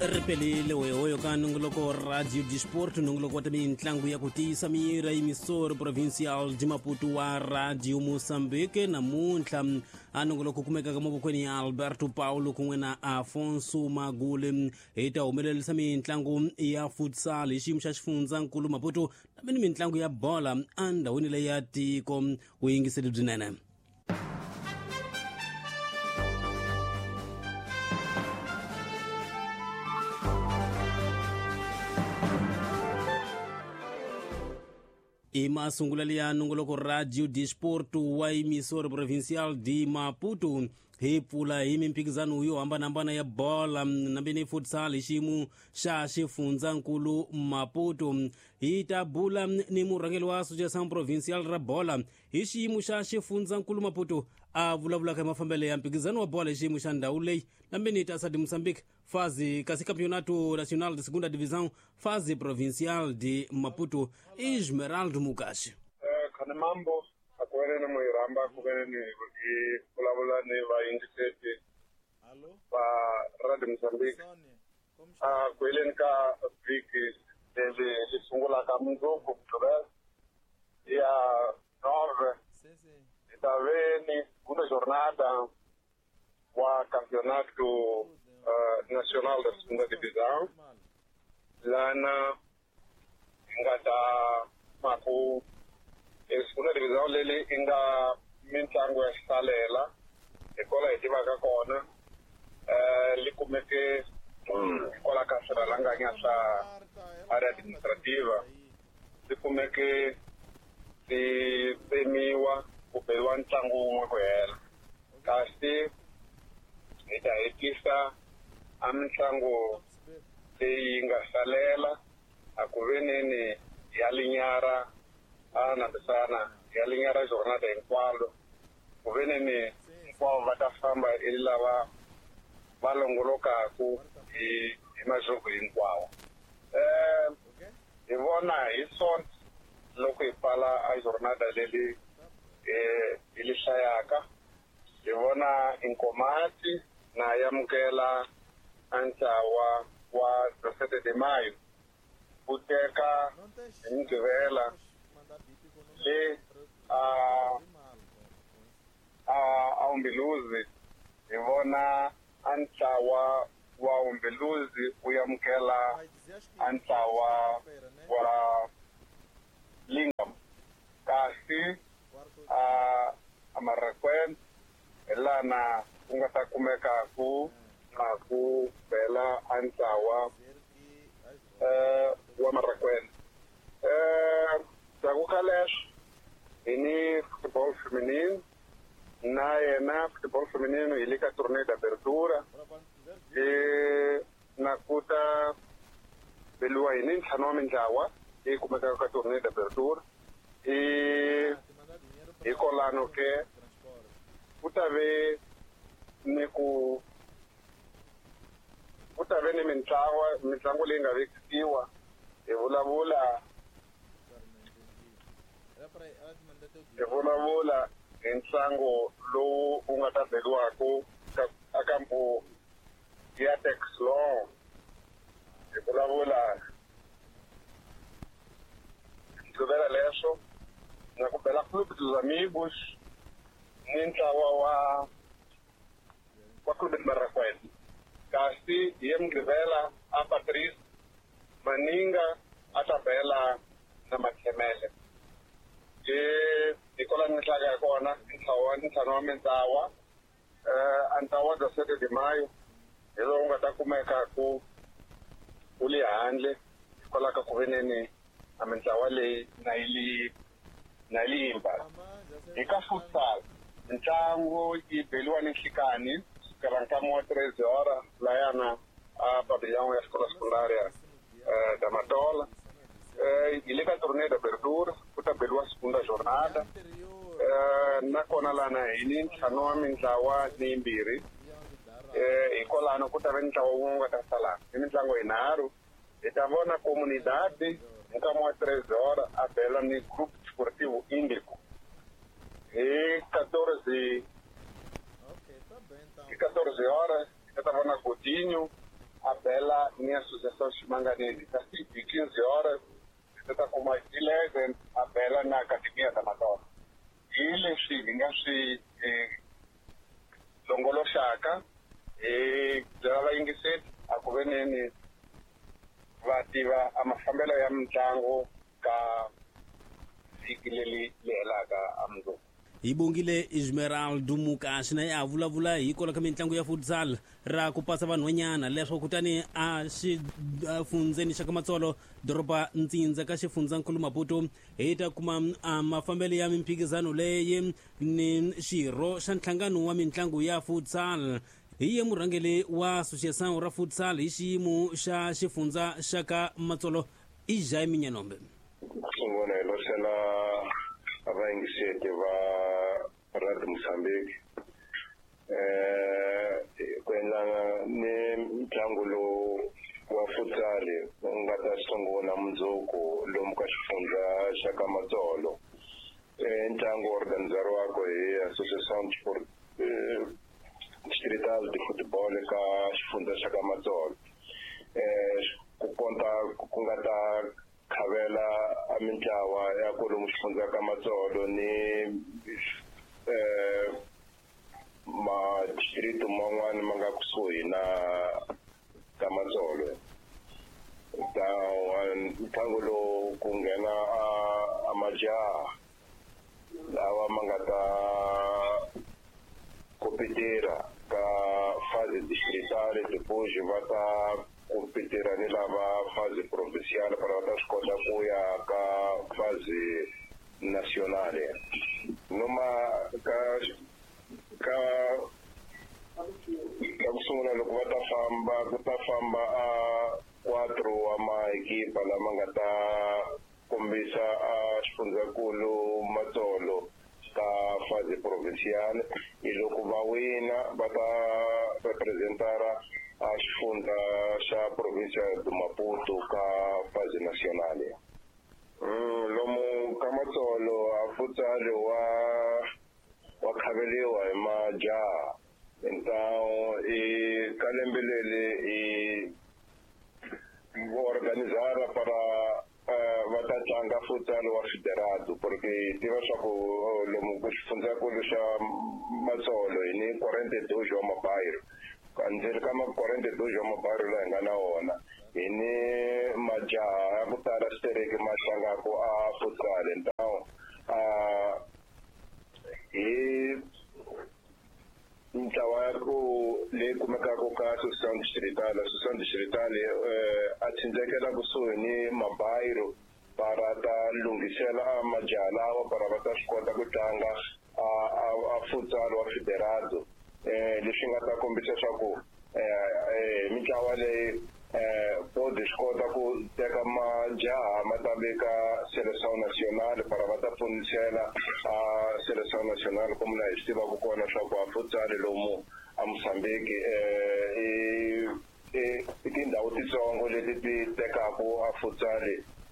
Ri pelile hoyohoyo ka nongoloko Radio Disport, nongoloko wa ta mitlangu ya ku tiyisa mira emisoro provincial de Maputo wa Radio Moçambique. Namuntlha a nongoloko kumekaka mavokweni ya Alberto Paulo kun'we na Afonso Magule, hi ta humelerisa mitlangu ya futsal hi xiyimo xa xifundzankulu Maputo ni mitlangu ya bola endhawini leyi ya tiko. Vuyingiseli byinene. I masungulo ya nongoloko Radio Disport wa emisoro provincial de Maputo. Hi pfula hi mimphikizano yo hambanahambana ya bola nambeni futsal hi xiyimo xa xifundzankulu Maputo. Hi ta bula ni murhangeri wa Associação Provincial ra bola hi xiyimo xa xifundzankulu Maputo, a vulavulaka hi mafambelo ya mphikizano wa bola hi xiyimo xa ndhawu leyi nambeni Taça de Moçambique fase kasi Campeonato Nacional de Segunda Divisão fase provincial de Maputo, Esmeraldo Mukashi. Khane mambo a ku veni ni muiramba ku veni ni hi vulavula ni vayingiseti va Radio Mozambique a ku heleni ka vhiki leri ri sungulaka mundzuku Mugqivela ya 9, hi ta veni segunda jornada wa Campeonato Nacional da Segunda Divisão, lana hi nga ta maku segunda divisão leli i nga mitlangu ya xisalela hi kola hi tivaka kona, li kumeke hikwalaho ka swirhalanganya swa area administrativa, swi kumeke swi tsemiwa ku beriwa ntlangu wun'we ku hela. Kasi hi ta hetisa a mitlangu leyi nga salela a ku veneni ya linyara a nambisana ya linyara jornada hinkwalo, ku veneni hinkwavo va ta famba i lava va longolokaku hi masiku hinkwawo. Hi vona hi Sonto loko hi pfala a jornada leli hi li hlayaka, hi vona Inkomati na yamukela a ntlawa wa 17 de Maio ku teka hi Mugqivela le a Umbeluzi. Hi vona a ntlawa wa Umbeluzi u yamukela a ntlawa wa Lingam, kasi a Marraqueta hi lana ku nga ta kumeka ku na ku bela a ntlawa wa Marraqueta. Ndzhaku ka leswo hi ni football feminine, na yena football feminine hi le ka Torneio d'Abertura, na ku ta beliwa hi ni ntlhanu wa mintlawa leyi kumekaka ka Torneio d'Abertura. Hi kolano ke ku ta ve ni ku ku ta ve ni mintlawa mitlangu leyi nga vekisiwa. Hi vulavula hi ntlangu lowu wu nga ta beriwaku ka kampo ya Texlong. Hi vulavula Mugqivela leswo na ku bela Clube dos Amigos ni ntlawa wa Clube de Marraqueta, kasi hi Mugqivela a Patrice Maninga a ta bela na Makhemele. Hi kola ni hlaka ya kona ntlawa ntlhanu wa mintlawa, a ntlawa 17 de Maio hi lowu nga ta kumeka ku wu le handle hikwalaho ka ku veneni a mintlawa leyi na yi na limba. Hi ka futsal ntlangu yi beliwa ni nhlikani kusukela nkama wa 3 hora layana a pavilhão ya escola secundária da Matola. Hi le ka Torneio d'Abertura ku ta beliwa segunda jornada, nakona lana hi ni ntlhanu wa mintlawa ni yimbirhi. Hi kolano ku ta ve ntlawa wun'we nga ta sala hi mitlangu yinharhu. Hi ta vona Comunidade hi nkama wa 3 hora a bela ni Grupo Desportivo Índico. Hi 14, hi 14 horas hi ta vona Godinho a bela ni Associação Ximanganeni. Kasi hi 15 horas hi ta kuma 11 a bela na Academia da Madonna. Hi leswi hi nga swi longoloxaka hi byela vayingiseri a ku veneni va tiva a mafambelo ya mitlangu ka vhiki leri helaka a mundzuku. Hi bongile Esmeraldo Mukaxi na ya vulavula hi kwala ka mitlangu ya futsal ra ku pasa vanhwanyana leswo kutani a xifundzeni xa ka Matsolo doroba Ntsindza ka xifundzankulu Maputo hi ta kuma a mafambelo ya mimphikizano leyi ni xirho xa nhlangano wa mitlangu ya futsal hi ye murhangeri wa association ra futsal hi xiyimo xa xifundza xa ka Matsolo i Jaime Nyanombe. Sungula hi losela vayingiseti va Radio Mozambique ku endla ni ntlangu lowu wa futsal wu nga ta sungula mundzuku lomu ka xifundza xa ka Matsolo. Ntlangu organizeriwaka hi Associação Distrital de Futebol ka xifundza xa ka Matsolo. Ku konta ku nga ta khavela a mintlawa ya kwalomu xifundza ka Matsolo ni madistrict man'wana ma nga kusuhi na ka Matsolo. Ta ntlangu lowu ku nghena a majaha lawa ma nga ta kompetira ka fase distritale, depois va ta kompetira ni lava fase provinciale para va ta swi kota ku ya ka fase nationale. Noma ka ka ka ku sungula loko va ta famba ku ta famba a 4 wa maekipa lama nga ta kombisa a xifundzankulu Matsolo ka fase provinciale. Hi loko va wina va ta representara a xifundza xa provincia de Maputo ka fase nationale. Lomu ka Matsolo a futsal wa khaveliwa hi majaha. Então i ka lembe leri i organizara para va ta tlanga futsal wa federado, porque hi tiva swa ku lomu ku xifundzankulu xa Matsolo hi ni 42 wa mabayiro. Ndzeni ka ma 42 wa mabayiro laha hi nga na wona hi ni majaha ya ku tala xitereki ma tlangaka a futsal. Então hi ntlawa ya ku leyi kumekaka ka Associação Distrital, Associação Distrital a tsindzekela kusuhi ni mabayiro para ta lunghisela a majaha lawa para va ta swi kota ku tlanga a futsal wa federado. Leswi nga ta kombisa swa ku mitlawa leyi bodi swi kota ku teka majaha ma ta veka Seleção Nacional para va ta pfunisela a Seleção Nacional como na hi swi tivaka kona swa ku a futsal lomu a Mozambique i tindhawu titsongo leti ti tekaka a futsal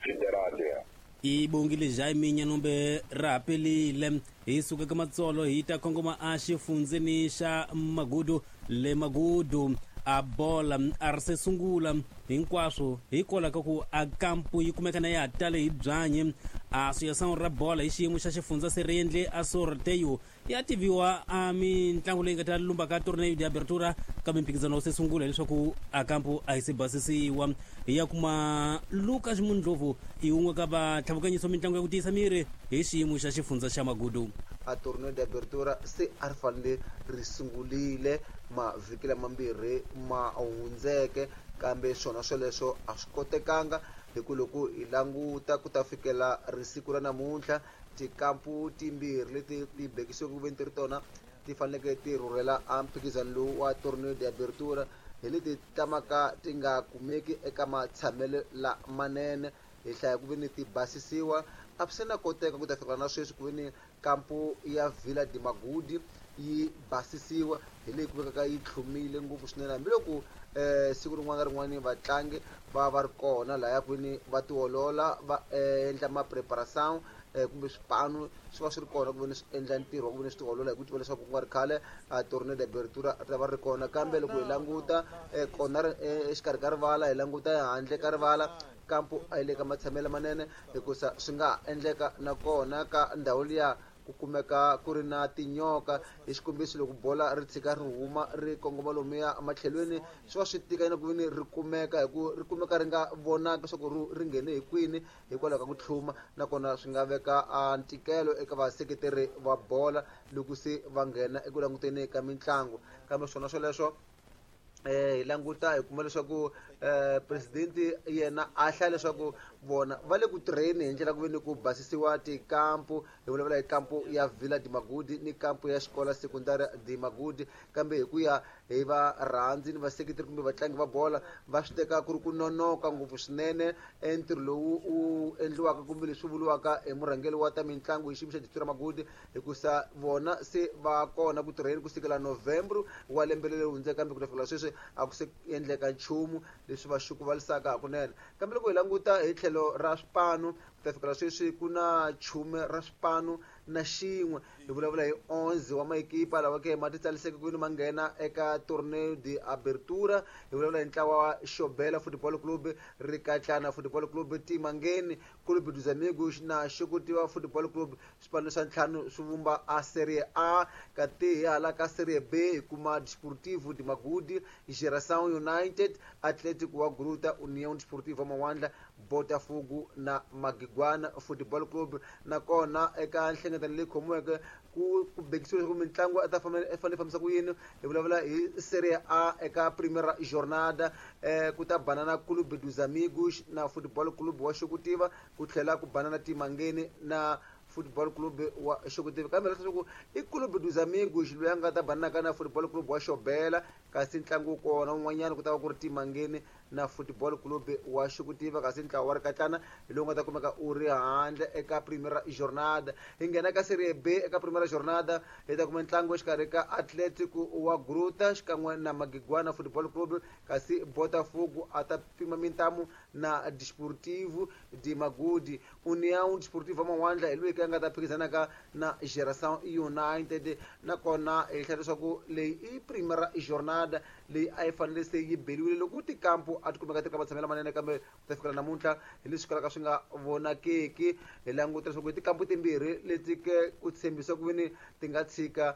federado ya. I bongile Jaime Nyanombe ra pelile. Hi suka ka Matsolo hi ta kongoma a xifundzeni xa Magudu le Magudu a bola a ri se sungula hinkwaswo hikwalaho ka ku a kampu yi kumeka na ya ha tale hi byanyi. Associação ra bola hi xiyimo xa xifundza se ri endle a sorteio ya tiviwa a mitlangu leyi nga ta lumba ka torneo de abertura ka mimphikizano wu se sungula leswaku a kampu a yi se basisiwa. Hi ya kuma Lucas Mundlovu i wun'we ka vatlhavukanyiso mitlangu ya ku tiyisa miri hi xiyimo xa xifundza xa Magudu. A torneo de abertura se a ri fanele ri sungulile mavhiki lamambirhi ma hundzeke, kambe swona swoleswo a swi kotekanga hi ku loko hi languta ku ta fikela risiku ra namuntlha tikampu timbirhi leti ti bekisiweke ku veni ti ri tona ti faneleke ti rhurhela a mphikizano lowu wa torneo de abertura hi leti tamaka ti nga kumeki eka matshamelo lamanene. Hi hlaya ku veni ti basisiwa a swi se na koteka ku ta fikela na sweswi ku veni kampu ya Vila de Magudi yi basisiwa hi leyi kumekaka yi tlhumile ngopfu swinene, hambiloko siku rin'wana na rin'wana vatlangi va va ri kona lahaya kwini va tiolola va endla ma-preparation Kumbe swipanu swi va swi ri kona ku veni swi endla ntirho wa ku veni swi tiolola hi ku tiva leswaku ku nga ri khale a torneo de abertura ri ta va ri kona. Kambe loko hi languta kona exikarhi ka rivala, hi languta handle ka rivala, kampo a yi le ka matshamelo manene, hikusa swi nga ha endleka nakona ka ndhawu liya ku kumeka ku ri na tinyoka. Hi xikombiso, loko bola ri tshika ri huma ri kongoma lomuya ematlhelweni, swi va swi tika na ku veni ri kumeka, hi ku ri kumeka ri nga vonaki leswaku ri nghene hi kwini hikwalaho ka ku tlhuma. Nakona swi nga veka a ntikelo eka vaseketeri va bola loko se va nghena eku languteni ka mitlangu. Kambe swona swoleswo, hi languta hi kuma leswaku president yena a hlaya leswaku vona va le ku tirheni hi ndlela ku ve ni ku basisiwa tikampu. Hi vulavula hi kampu ya Villa de Magudi ni kampu ya xikola sekundari de Magudi. Kambe hi ku ya hi varhandzi ni vaseketeri kumbe vatlangi va bola, va swi teka ku ri ku nonoka ngopfu swinene entirho lowu wu endliwaka kumbe leswi vuriwaka hi murhangeri wa ta mitlangu hi xiyimo xa district ra Magudi, hikusa vona se va kona ku tirheni kusukela November wa lembe leri hundzeke, kambe ku ta fikela sweswi a ku se endleka nchumu leswi va xukuvalisaka hakunene. Kambe loko hi languta hi tlhelo ra swipanu, ku ta fikela sweswi ku na chume ra swipanu na xin'we. Hi vulavula hi 11 wa maekipa lawa ke ma titsaliseke ku veni ma nghena eka torneo de abertura. Hi vulavula hi ntlawa wa Xobela Football Club, Rikatlana Football Club, Timangeni Clube dos Amigos na Xukutiwa Football Club. Swipano swa ntlhanu swi vumba a Serie A. Kati hi hala ka Serie B hi kuma Desportivo de Magudi, Geração United, Atlético wa Gruta, União Desportiva Mawandla, Botafogo na Magigwana Football Club. Nakona eka nhlengeletano leyi khomiweke ku bekisiwe leswaku mitlangu a ta fanele fambisa ku yini. Hi vulavula hi Serie A eka Primeira Jornada, ku ta banana Clube dos Amigos na Football Club wa Xokutiva, ku tlhela ku banana Timangeni na Football Club wa Xokutiva. Kambe leswaku i Clube dos Amigos loyi a nga ta bananaka na Football Club wa Xobela, kasi ntlangu kona wun'wanyana ku ta va ku ri Timangeni na Football Club wa Xokutiva, kasi ntlawa wa Rikatlana hi lowu nga ta kumeka u ri handle eka Primeira Jornada. Hi nghena ka Serie B eka Primeira Jornada, hi ta kuma ntlangu exikarhi ka Atletico wa Gruta xikan'we na Magigwana Football Club, kasi Botafogo a ta pima mintamu na Desportivo de Magudi. União Desportiva Mawandla hi loyi ka nga ta phikizanaka na Geração United. Nakona hi hlaya leswaku leyi i Primeira Jornada leyi a yi fanele se yi beliwile loko tikampu a ti kumeka ti ri ka matshamelo manene, kambe ku ta fikela namuntlha hi leswi kalaka swi nga vonakeki. Hi languta leswaku hi tikampu timbirhi leti ke ku tshembisa ku veni ti nga tshika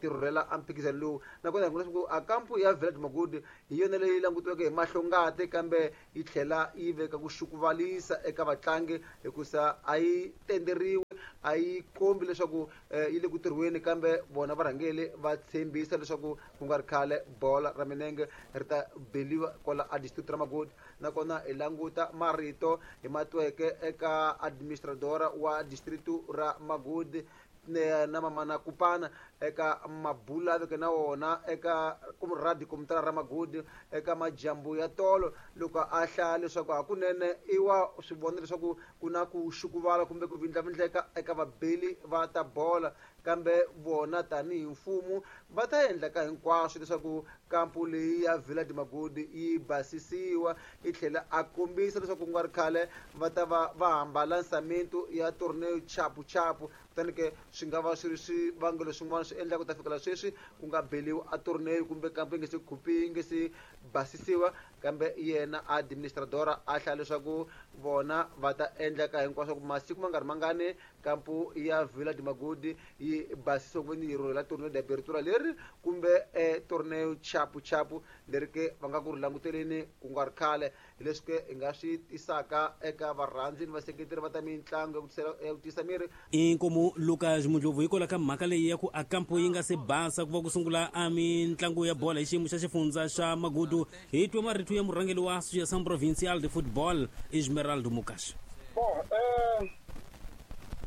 ti rhurhela a mphikizano lowu. Nakona hi vona leswaku a kampu ya Villa de Magudi hi yona leyi langutiweke hi mahlongati, kambe yi tlhela yi veka ku xukuvalisa eka vatlangi, hikusa a yi tenderiwi, a yi kombi leswaku yi le ku tirhweni. Kambe vona varhangeri va tshembisa leswaku ku nga ri khale bola ra minenge ri ta beliwa kwala a district ra Magodi. Nakona hi languta marito hi matweke eka administradora wa district ra Magodi na Mamana Kupana eka mabula veke na wona eka radio komitara ra Magudi eka majambu ya tolo, loko a hlaya leswaku hakunene i wa swi vona leswaku ku na ku xukuvala kumbe ku vindlavindleka eka vabeli va ta bola, kambe vona tanihi mfumo va ta endla ka hinkwaswo leswaku kampu leyi ya Villa de Magudi yi basisiwa. Yi tlhela a kombisa leswaku ku nga ri khale va ta va va hambala nsamento ya torneo chapu chapu. Kutani ke swi nga va swi ri swivangelo swin'wana swi endlaka ku ta fikela sweswi ku nga beliwi a torneo kumbe kampu yi nge se khupi, yi nge se basisiwa. Kambe yena administradora a hlaya leswaku vona va ta endla ka hinkwaswo ku masiku ma nga ri mangani kampu ya Villa de Magudi yi basisiwa ku veni yi rhurhela torneo de abertura leri kumbe torneo chapu chapu leri ke va nga ku ri languteleni ku nga ri khale. Hi leswi ke hi nga swi tisaka eka varhandzi ni vaseketeri va ta mitlangu ya ku tiyisa miri. Inkomu Lucas Mudlovu hikwalaho ka mhaka leyi ya ku a kampo yi nga se basa ku va ku sungula a mitlangu ya bola hi xiyimo xa xifundza xa Magudu. Hi twe marito ya murhangeri wa Associação Provincial de Football, Esmeraldo Mukashi. Bon,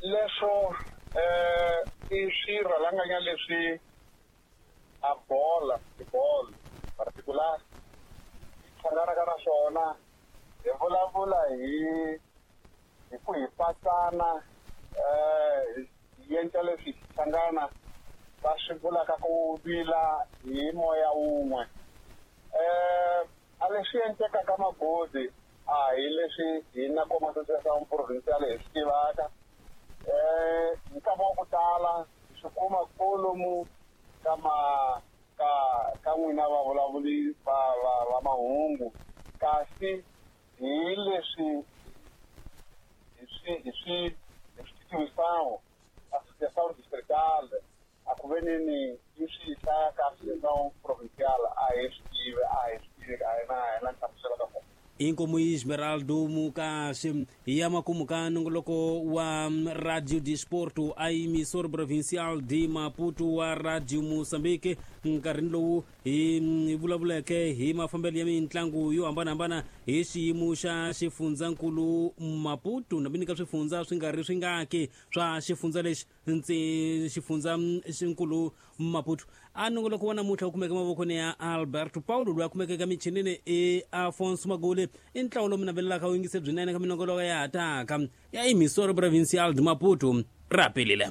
leswo i swirhalanganya leswi a bola football particular hlanganaka na swona. Hi vulavula hi ku hi patsana, hi endla leswi hi hlangana va swi vulaka ku vila hi moya wun'we. A leswi endlekaka Magodi a hi leswi hina koma Association Provincial hi swi tivaka. Nkama wa ku tala swi kuma kolomu ka ma ka ka n'wina vavulavuli va va va mahungu, kasi hi leswi hi swi tivisawu Associação Distrital a ku veneni yi swi hlaya ka Associação Provincial, a hi swi tivi, a hi na nhlamuselo ka kona. Inkomu Esmeraldo Mukaxe. Ya makumu ka nongoloko wa Radio Disporto, a emissora provincial de Maputo wa Radio Moçambique, nkarhini lowu hi vulavuleke hi mafambelo ya mitlangu yo hambanahambana hi xiyimo xa xifundzankulu Maputo, na ka swifundza swi nga ri swingaki swa xifundza lexi ntsi xifundza xinkulu Maputo. A nongoloko wa namuntlha wu kumeka mavokweni ya Alberto Paulo, loyi a kumeka eka michinini i Afonso Magule. I ntlawa lowu mi navelelaka wu yingise byinene ka minongoloko ya ha taka ya emissora provincial de Maputo. Ra pelile.